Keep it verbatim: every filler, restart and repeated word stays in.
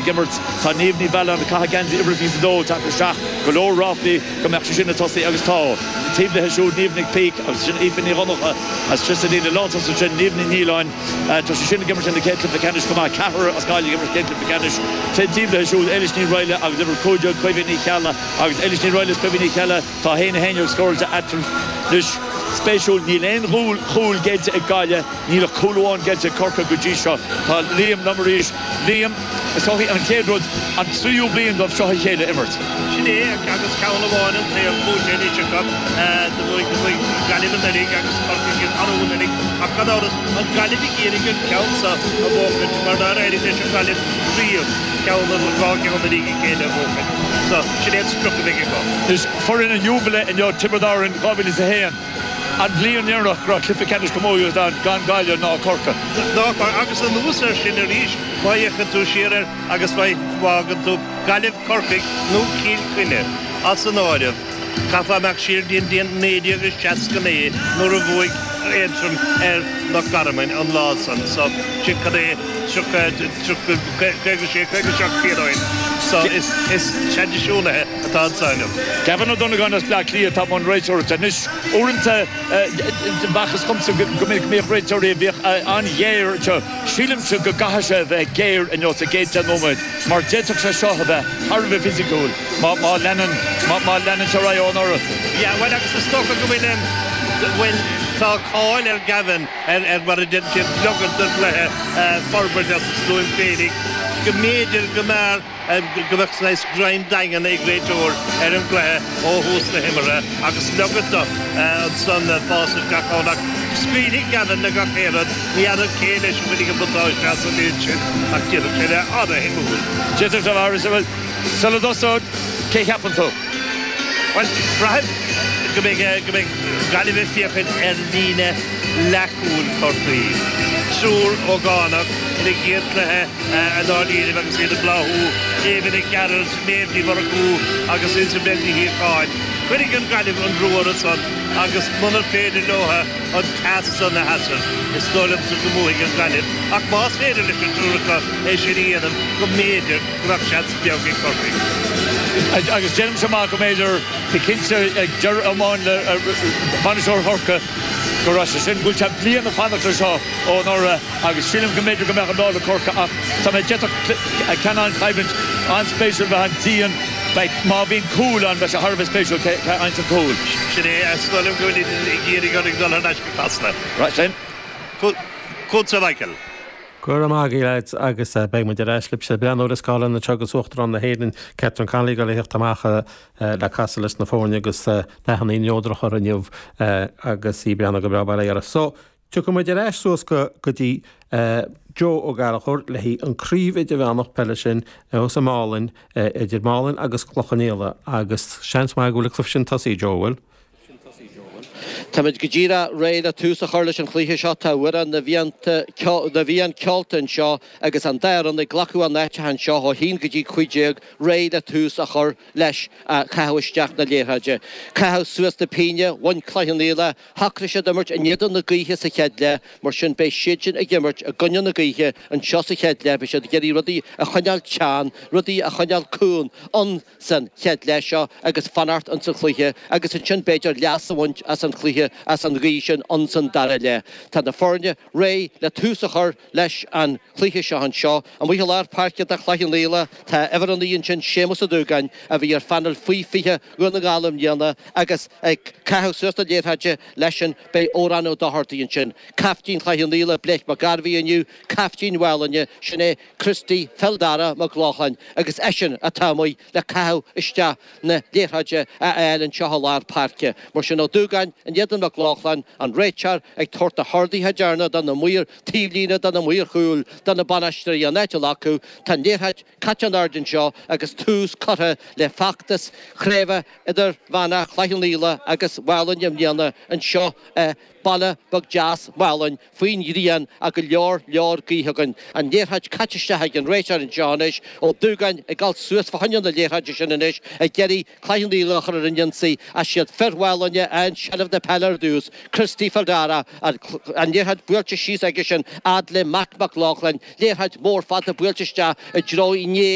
ag imirt. Tá Niamh Ní Mhealláin ag caitheamh geansaí uimhir a fiche a dó ag teacht isteach. Go leor ráflaí go mbeadh sí sin ag tosaí agus tá. Taobh léi siúd Niamh Nic Píc agus sin Aoife Ní Dhonncha as Tríos an líne lántosaigh ansin Niamh Ní Nialláin. Tá sí sin ag imirt ina céad cluiche ceannais chomh maith. Ceathrar as Gaillimh ag imirt céad cluiche ceannais. Taobh léi siúd Éilis Ní Raghallaigh agus uimhir a cúig déag Caoimhe Ní Cheallaigh agus Éilis Ní Raghallaigh is Caoimhe Ní Cheallaigh tá a haon a haon déag scóráilte eatarthu. Anois, spéisiúil, níl aon chúl géillte ag Gaillimh, níl ach cúl amháin géillte ag Corcaigh go dtí seo. Tá Liam liom arís. Liam, is dóichí an chéad rud, an tríú bliain dóibh seo a chéile imirt. Sin é, agus ceann amháin an taobh buaite anois acu. Do bhuaigh, do bhuaigh Gaillimh anuraidh agus Corcaigh arú anuraidh. Ach gan amhras, an Gaillimh ag iarraidh an ceann seo a bhuachaint mar nár éirigh leis an Ghaillimh riamh ceann nó dhá cheann i ndiaidh a chéile a bhuachaint. So, sin é an sprioc a bheidh acu. Anois, foireann an Iúbhile inniu, Tiobraid Árann dhá mhíle is a haon, an bhliain dheireanach go raibh cluiche ceannais camógaíochta ann gan Gaillimh ná Corcaigh. Ná Corcaigh. Agus anuas air sin arís, má fhéachann tú siar air agus má fhágann tú Gaillimh, Corcaigh nó Cill Chainnigh as an áireamh, caithfeá imeacht siar go dtí an bhliain naoi déag is seasca naoi nuair a bhuaigh Aontroim ar Loch Garman an lá san. So, sin cad é, tríocha, tríocha, caoga sé, caoga seacht bliain ó shin. So, is, is traidisiúnaithe atá anso inniu. Gavin Ó Donnabháin as Bleá Cliath atá i mbun réiteoireachta. Anois, uaireanta, b'fhacthas dhomsa go minic go mbíodh réiteoirí a bhíodh an-ghéar anseo. Sílimse go gcaithfidh sé a bheith géar inniu sa gcéad deich nóiméad mar d'fhéadfadh sé seo a bheith thar a bheith fisiciúil má, má leanann, má, má leanann sé ar aghaidh ó anuraidh. Yeah, bhuel agus is dócha go bhfuil, bhuel, tá cáil ar Gavin ar, ar mar a deir siad, leogaint don chluiche forbairt as a stuaim féinig, go mb'fhéidir go mb'fhearr go mbeadh saghas greim daingean ag réiteoir ar an gcluiche ó thús na himeartha agus leogaint dó ansan fás isteach ann ach scaoilfidh Gavin le gach aon rud, ní fheadar cé leis a bhainfidh an buntáiste as an méid sin ach d'fhéadfadh sé bheith an-shuimiúil. D'fhéadfadh sé a bheith, bhuel, sula dtosód, cé cheapann tú? Bhuel, braithim go mbeidh, go mbeidh Gaillimh ag féachaint ar líne leathchúil Chorcaí. Triúr ógánach ina gcéad chluiche i ndáiríribh agus iad ag bláthú, Eva Nic Gearailt, Méabh Ní Mhurchú agus Isabel Ní Shíocháin. Cuirfidh an Ghaillimh an brú orthu san agus munar féidir leo an teas san a sheasamh, is dóigh liomsa go mbuafaidh an Ghaillimh. Ach más féidir leis an triúr acu é sin a dhéanamh, go mb'fhéidir go mbeadh seans beag ag Corcaigh. Agus déanaimse amach go mb'fhéidir, go cinnte ag deireadh amháin le bainisteoir Chorcaí, go raibh sé sin, go bhfuil sé bliain ag fanacht leis seo ó anuraidh agus sílim go mb'fhéidir go mbeadh an lá le Corcaigh ach tá mé d'fhéadfadh ceann an-choimhlint an-spéisiúil bheith ann dian, beidh, má bhíonn cúl ann beidh sé thar a bheith spéisiúil cé a fhaigheanns an cúl. Sin é, is dóigh liom go bhfuil ag iarraidh orainn dul thar n-ais go Casla. Right sin. Chugatsa Michael. Go raibh maith agaibh lads agus beidh muid ar ais libhse. Breathnú ar an scáileán anseo agus Uachtarán na hÉireann Catherine Connolly ag dul a theacht amach le casadh leis na foirne agus dathanna neodracha uirthi inniu agus í ag breathnú go breá bail ó Dhia uirthi. So, tiocfaidh muid ar ais suas go go dtí Joe Ó Gallchóir le haghaidh an craobh idirmheánach peile sin thuas i Málainn idir Málainn agus Cloich Cheann Fhaola agus seans maith go bhfuil an cluiche sin tosaithe Joe, bhfuil? Táimid go díreach réidh le tús a chur leis an chluiche seo. Tá amhrán na bhFiann ceolta anseo agus an dá fhoireann ag glacadh a n-áiteacha anseo ó haon go dtí cúig déag réidh le tús a chur leis caitheamh isteach na liathróide. Caitheamh suas na pínne, bhain Cloich Cheann Fhaola, shocraigh siad imirt in éadan na gaoithe sa chéad leath, mar sin beidh siadsin ag imirt i gcoinne na gaoithe anseo sa chéad leath, beidh siad ag iarraidh rudaí a choinneáil teann, rudaí a choinneáil cúng ann. san chéad leath seo agus fanacht ins an chluiche agus ansin b'fhéidir leas a bhaint as an chluiche, as an ghaoth sin ins an dara leath. Tá na foirne réidh le tús a chur leis an chluiche seo anseo. Amuigh i lár páirce do Chloich Cheann Fhaola tá uimhir a naoi ansin, Séamus Ó Dúgáin, a bhí ar phainéal faoi fiche Dhún na nGall i mbliana agus ag caitheamh suas na liathróide leisean beidh Odhrán Ó Dochartaigh ansin. Caiftín Chloich Cheann Fhaola, Blake Mac Gairbhí inniu, caiftín Mhálainne, sin é Christy Phil Dara Mac Lochlainn agus eisean atá amuigh le caitheamh isteach na liathróide a fháil anseo i lár páirce. Mar sin Ó Dúgáin in éadan Mac Lochlainn, an réiteoir ag tabhairt na horduithe deireanacha do na maoir taobhlíne, do na maoir chúil, do na bainisteoirí an áit a ghlacadh. Tá an liathróid caite in airde anseo agus tús curtha le feachtas Chraobh Idirmheánach Chloich Cheann Fhaola agus Mhálainn i mbliana anseo i Baile beag deas Mhálainn faoin ghrian ach go leor leor gaoithe againn. An liathróid caite isteach ag an réiteoir anseo anois, Ó Dúgáin ag dul suas fá choinne na liathróide sin anois ag iarraidh Cloich Cheann Fhaola a chur ar an ionsaí ach siad fir Mhálainne a fhaigheann seilbh na peile. peile ar dtús, Christy Feldara, an liathróid buailte síos aige sin fhad le Matt Mac Lochlainn, liathróid mhór fada buailte isteach i dtreo Uí Néill.